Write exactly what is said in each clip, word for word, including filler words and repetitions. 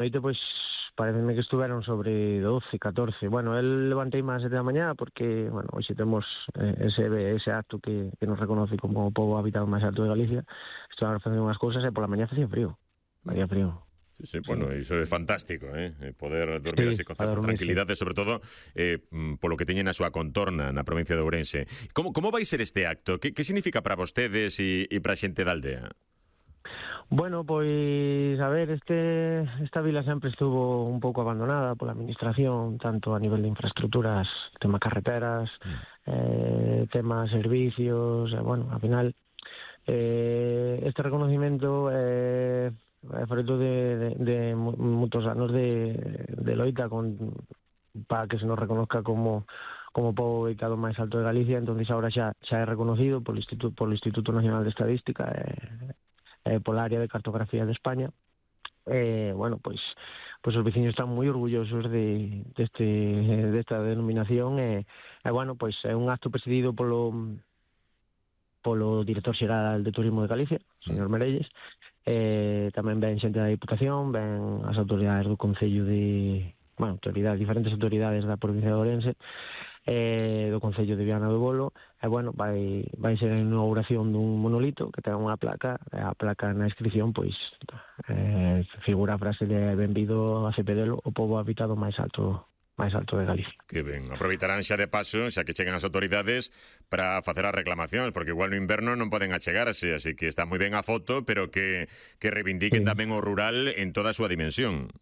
noite, pois, pareceme que estuveron sobre doce, catorce. Bueno, el levantei máis sete da mañá porque, bueno, hoxe temos eh, ese, ese acto que, que nos reconoce como o pobo habitado máis alto de Galicia. Estuveron facendo unhas cousas e pola mañá facía frío. Facía frío. Sí, sí, bueno, sí. Iso é fantástico, eh? Poder dormir sí, así con certa tranquilidade, sobre todo eh, polo que teñen a súa contorna na provincia de Ourense. Como, como vai ser este acto? Que, que significa para vostedes e, e para a xente da aldea? Bueno, pois, a ver, este, esta vila sempre estuvo un pouco abandonada pola administración, tanto a nivel de infraestructuras, tema carreteras, mm. eh, tema servicios, eh, bueno, ao final, eh, este reconocimiento é eh, fruto de, de, de moitos anos de, de loita con, para que se nos reconozca como como pobo ubicado máis alto de Galicia. Entonces agora xa, xa é reconocido polo Instituto, polo Instituto Nacional de Estadística, eh, Eh, pola área de cartografía de España. Eh, bueno, pois, pois os veciños están moi orgullosos de deste desta denominación e, eh, bueno, pois é un acto presidido polo polo director xeral de Turismo de Galicia, señor Merelles. Eh, tamén ven xente da Diputación, ven as autoridades do Concello de, bueno, autoridades, diferentes autoridades da provincia de Ourense, eh, do Concello de Viana do Bolo, e, bueno, vai, vai ser a inauguración dun monolito que ten unha placa, e a placa na inscripción, pois, eh, figura a frase de benvido a Cepedelo, o pobo habitado máis alto máis alto de Galicia. Que ben, aproveitarán xa de paso, xa que chegan as autoridades, para facer as reclamacións, porque igual no inverno non poden achegarse, así que está moi ben a foto, pero que, que reivindiquen sí. tamén o rural en toda a súa dimensión.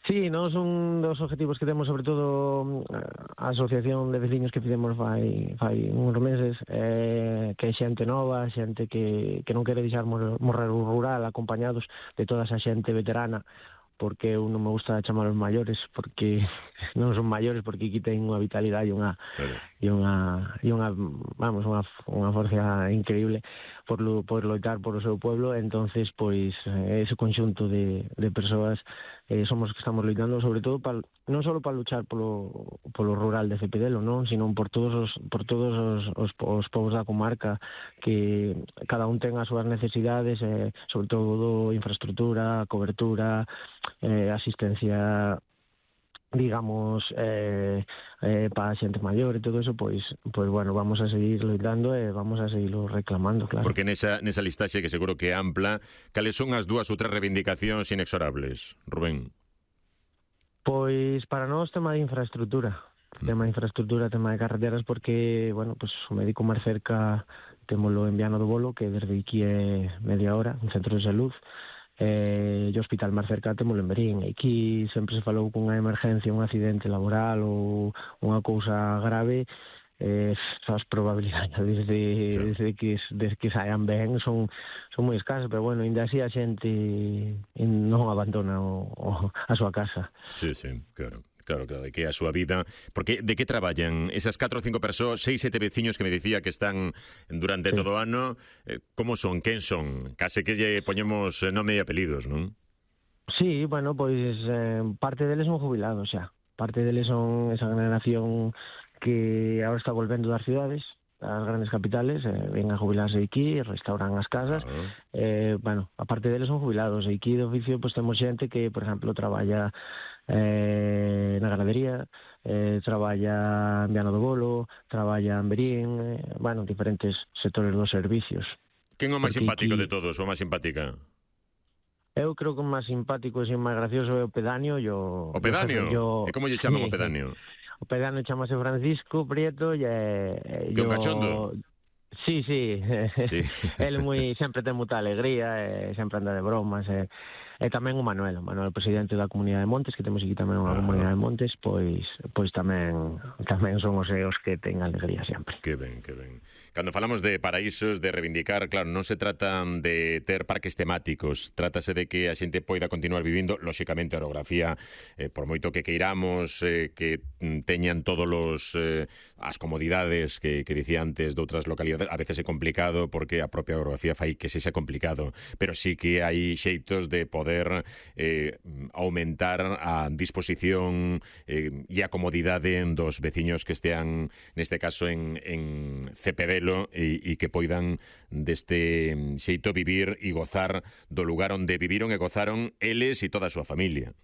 Sí, nos un dos objetivos que temos, sobre todo a asociación de veciños que fizemos fai, fai uns meses, eh, que é xente nova, xente que, que non quere deixar morrer o rural, acompañados de toda esa xente veterana, porque eu non me gusta chamar os maiores, porque non son maiores, porque aquí ten unha vitalidade e unha, claro. e unha, e unha, vamos, unha, unha forza increíble por, lo, por loitar por o seu pueblo. Entonces, pois, ese conxunto de, de persoas eh, somos que estamos loitando, sobre todo para, non só para luchar polo, polo rural de Cepedelo, non, sino por todos os por todos os, os, os povos da comarca, que cada un ten as súas necesidades, eh, sobre todo infraestructura, cobertura, eh, asistencia, digamos, eh, eh, para a xente maior e todo eso, pois, pois bueno, vamos a seguir loitando e vamos a seguirlo reclamando, claro. Porque nesa, nesa listaxe, que seguro que é ampla, cales son as dúas ou tres reivindicacións inexorables, Rubén? Pois para nós tema de infraestructura, tema de infraestructura, tema de carreteras, porque, bueno, pues o médico máis cerca témolo en Viana do Bolo, que desde aquí é media hora, un centro de salud, eh, e o hospital máis cerca témolo en Berín. Aquí sempre se falou cunha emergencia, un accidente laboral ou unha cousa grave, eh, as probabilidades desde, desde, que, desde que saian ben son, son moi escasas, pero bueno, ainda así a xente non abandona o, o, a súa casa. Sí, sí, claro. Claro, claro, que é a súa vida. Porque de que traballan esas catro ou cinco persoas, seis, sete veciños que me dicía que están durante sí. todo o ano? Eh, como son? Quen son? Case que lle poñemos nome e apelidos, non? Sí, bueno, pois eh, parte deles son jubilados xa. Parte deles son esa generación que agora está volvendo das cidades, das grandes capitales, eh, ven a jubilarse aquí, restauran as casas. Uh-huh. eh, bueno, a parte deles son jubilados. E aquí de oficio pois temos xente que, por exemplo, traballa eh, na ganadería, eh, traballa en Viana do Bolo, traballa en Berín, eh, bueno, diferentes sectores dos servicios. Quen é o máis simpático aquí de todos, ou máis simpática? Eu creo que o máis simpático e o máis gracioso é o pedáneo. Yo, o pedáneo? Yo, e como lle chaman o pedáneo? O pedáneo chamase Francisco Prieto e... Eh, que yo, un cachondo? Sí, sí. sí. Ele moi, sempre ten moita alegría, e sempre anda de bromas, e... E tamén o Manuel, o Manuel, presidente da Comunidade de Montes, que temos aquí tamén unha ah. Comunidade de Montes, pois pois tamén tamén son os eos que ten alegría sempre. Que ben, que ben. Cando falamos de paraísos, de reivindicar, claro, non se trata de ter parques temáticos, trátase de que a xente poida continuar vivindo, lóxicamente a orografía, eh, por moito que queiramos, eh, que teñan todos os eh, as comodidades que, que dicía antes de outras localidades, a veces é complicado porque a propia orografía fai que sexa complicado, pero sí que hai xeitos de poder poder eh, aumentar a disposición eh, e a comodidade dos veciños que estean, neste caso, en, en Cepedelo e, e que poidan deste xeito vivir e gozar do lugar onde viviron e gozaron eles e toda a súa familia.